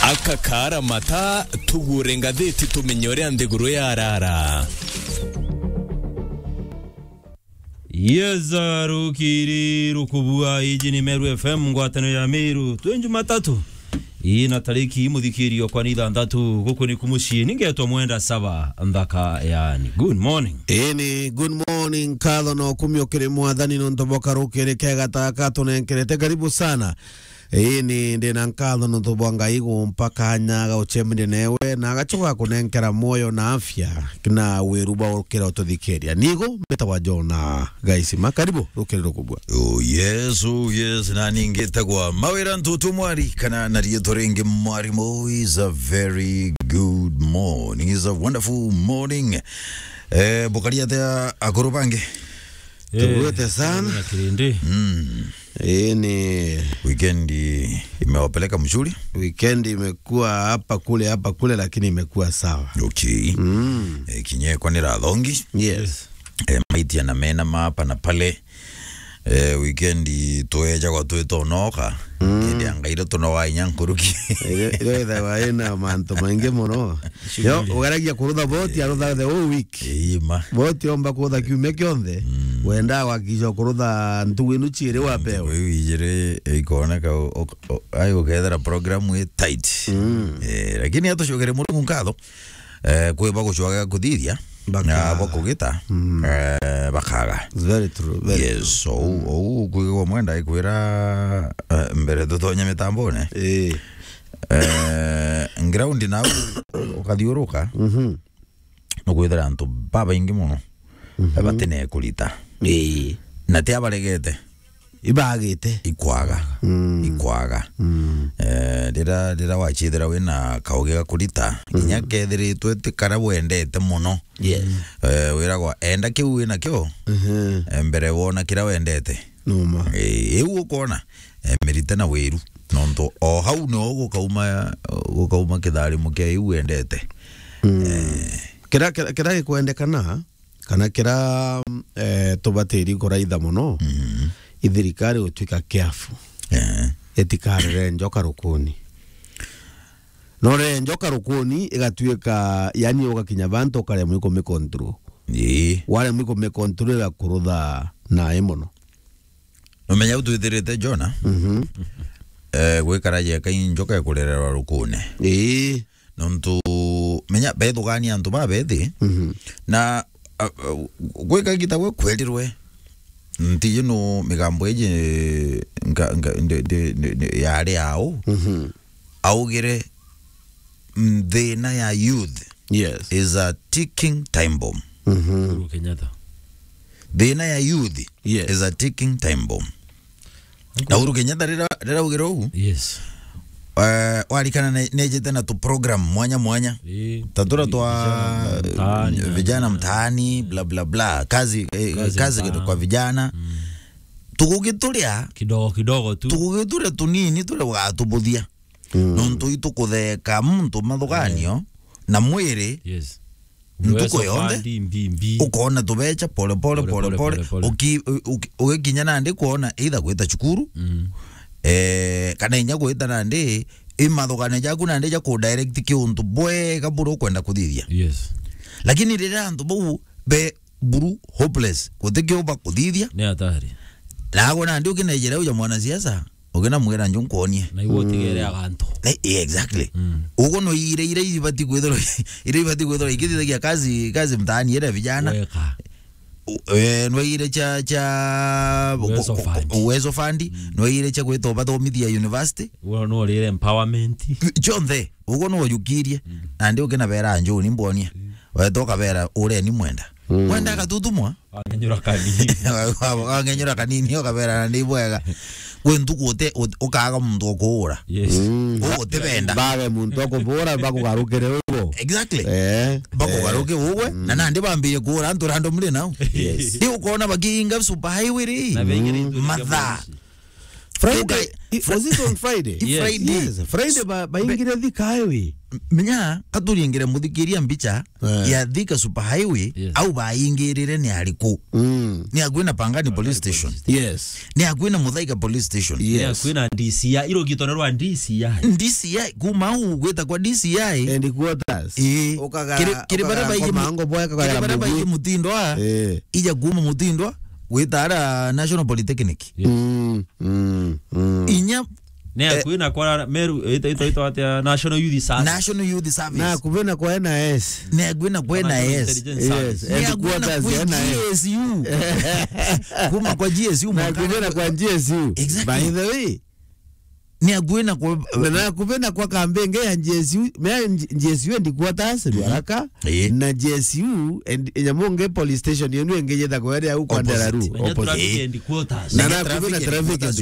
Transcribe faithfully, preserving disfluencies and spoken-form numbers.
Aka kaara mata, tugure ngathiti tumenye uria nthiguru yarara. Yes, rukiri rukubua, iji ni Meru F M, ngwataniro ya Meru. Twi Jumatatu. Ii na tariki, muthikiri okwa, ni ithanthatu, guku ni kumucii, ningetwa Mwenda Saba, nthaka yani. Good morning. Ii ni good morning, nkatho na ukumio kiri Mwathani nontu bwa karukiri kega taka tunenkerete. Karibu sana. Ii ni ndina nkatho nontu bwa Ngai gumpa kanya ga gucemania newe na agacoka kunenkera mwoyo na afya na wiru bwa gukira ututhikiria. Nigo mbitagwa Jona Gaisima. Karibu rukiri rukubua. Oh yes, oh yes, na ningitagwa Mawira Ntutu Mwari, kana na riitwa ringi Mwarimu. Is a very good morning, is a wonderful morning. Eh, bukari atia akuru bangi? Eh, tugwete sana. Na kirindi. Mm. Ii ni weekend imewapeleka mzuri? Weekend imekuwa hapa kule, hapa kule, lakini imekuwa sawa. Okay. Mm. Eh, kinya ekwa ni rathongi. Yes. Eh, maitia na mena ma hapa na pale. Eh, weekend twejagwa twitonoka. Mm. Indi anga ira tunowa inya nkuruki. Ira, ira ithagwa ina mantu maingi muno. Yo, ugeragia kurutha boti, arutha the whole week. Ii ma. Boti omba kurutha kiumia kionthe, mm, wenda gwakikisha kurutha ntugu inu ciiri wa pewa. Ntugu iu ijiri ikoneka u-, u-, u-, ai ukethira program i tight. Mm. Eh, lakini atucokere Murungu nkatho, eh, kwi ba gucwaga kuthithia, bakaga. Na ba kugita, mm, eh, bakaga. It's very true, very true. Yes, so, mm, ou kwigwa Mwenda ikwira, eh, mbere tutonye mitambone. Eh. Eh, ground nau ukathiuruka, mhm, nukwithira antu babaingi muno, mhm, batine kurita. Ii. Na ti abaregete. Ibagite. Ikwaga. Mm. Ikwaga. Mm. Eh, rira, rira wachithira wina kaugi ga kurita, mm, inya kethiritwe ti kara wendete muno. Yes. Eh, wiragwa, enda kiu wina kio, mhm, eh, mbere wona kira wendete. Numa. Eh, iu ukona, eh, mirite na wiru. Nontu o hau nio gukauma, gukauma kitharimo kia iu wendete. Mm. Eh. Kira, kira, kira gikwendekana, kana kira, eh, tubatiri kuraitha muno, mhm, i thirikari gutwika careful. Eh. Itikarere njoka rukuni. No rere njoka rukuni, igatwika, yani, ugakinya bantu ukaremwa ikumicontrol. Ii. Waremwa ikumicontrol, igakurutha nae muno. Numenya u twithirite Jona, mhm, eh, gwikara jeka i njoka ikurererwa rukune. Ii. Nontu, menya, bethugania antu babethi, mhm, na, a, a, gwika gita gwe kwerirwe, ntiji nu migambo iji nka-, nka-, ndi-, ndi-, ndi-, ndi-, yari au, mhm, augire, mm, thina ya youth, yes, is a ticking time bomb. Mhm. Uhuru Kenyatta. Thina ya youth, yes, is a ticking time bomb. Na Uhuru Kenyatta rira, rira augire uu, yes, eh, warikana ne-, nejete na tu program mwanya mwanya. Ii. Ta tura twa vijana mtaani, vijana mtaani, bla, bla, bla. Kazi, eh, kazi mtaani kwa vijana. Mm. Tugugituria kidogo kidogo tu. Tugugituria tunini turia ugatubuthia. Mm. Nontu itukutheka muntu mathuganio, eh, na mwiri, yes, ntuku yonthe. Ukoona tubecha pole pole, pole pole, pole pole. Uki-, u-, uki-, ugikinya nandi kwona either gwita cukuru, mm, eh, kana inya gwita nandi, i mathuganio jaku nandi ja ku direct ki untu bwega buria ukwenda kuthithia. Yes. Lakini riria antu bau be buru hopeless, guti kio bakuthithia. Ni hatari. Nagwe nandi ukinejera uja mwanasiasa, ukinamwira nju nkuonie. Na iwe utigere agantu. Eh, eh, exactly. Mm. Uguo no ire, ire ibati kwithirwa, ire ibati kwithirwa ikithithagia kazi, kazi mtaani ire vijana. Weka. U-, eh, no ire cha, cha Uwezo ku-, ku-, Fund. Uwezo Fund, mm, no ire cha gwita ubathomithia university. Uguo no rire empowerment. Chonthe, uguo no ujukirie. Mm. Nandi ukinabera nju ni mbonie. Mm. Weta ukabera ureni Mwenda. Mm. Mwenda agatutumwa. Wangenyura kanini. Wangenyura kanini, ukabera na ni bwega. Kwi ntuku ute-, ut-, ukaaga muntu ukuura. Yes. Mm. Ugutibenda. Bage muntu akubura, bakugarukire ugo. Exactly. Eh. Bakugaruke ugwe, mm, na nandi bambire kuura antu random ri nao. Yes. Riu ukoona bakiinga super highway ri. Na bengire, mm, mathaa. Friday, Uka-, i-, was it on Friday? Yes. Friday. Yes, Friday ba-, baingire Thika highway. Menya, katuringire muthikiria mbicha Eh. ya Thika Super Highway, Yes. au baingirire ni ariku? Mm. Ni akui na Pangani Police Station. Yes. Ni akui na Muthaiga Police Station. Yes. Kwina D C I, irugitone rwa D C I. D C I, kuma u gwita kwa D C I. Headquarters. Ii. Ukagara, Kiri, kiri ukagara baria baiji mu-, Komango boya, kiri ukagara baria baiji Mugi. Mutindwa, Eh. ija kuma Mutindwa, gwita ara National Polytechnic. Mm, mm, mm. Inya Ne Eh. akwina kwa Meru, ito, ito, ito atia National Youth Service. National Youth Service. Na akuvena kwa N I S. Ne akwina kwa National N I S. Intelligence Yes. Service. Ne akwina Headquarters kwa ya N I S. G S U. Kuma kwa G S U Na mwaka. Akuvena kwa G S U. Exactly. By the way. Ne akwina kwa Na, na akuvena kwa kambenge ya G S U, mea G-, G S U headquarters, Mhm. Ruaraka, Eh. na G S U and Nyamonge police station, yenu engejeta kwa area huko Opposite. Andararu, Menya opposite. traffic Eh. headquarters. Na Menya na traffic akuvena traffic headquarters.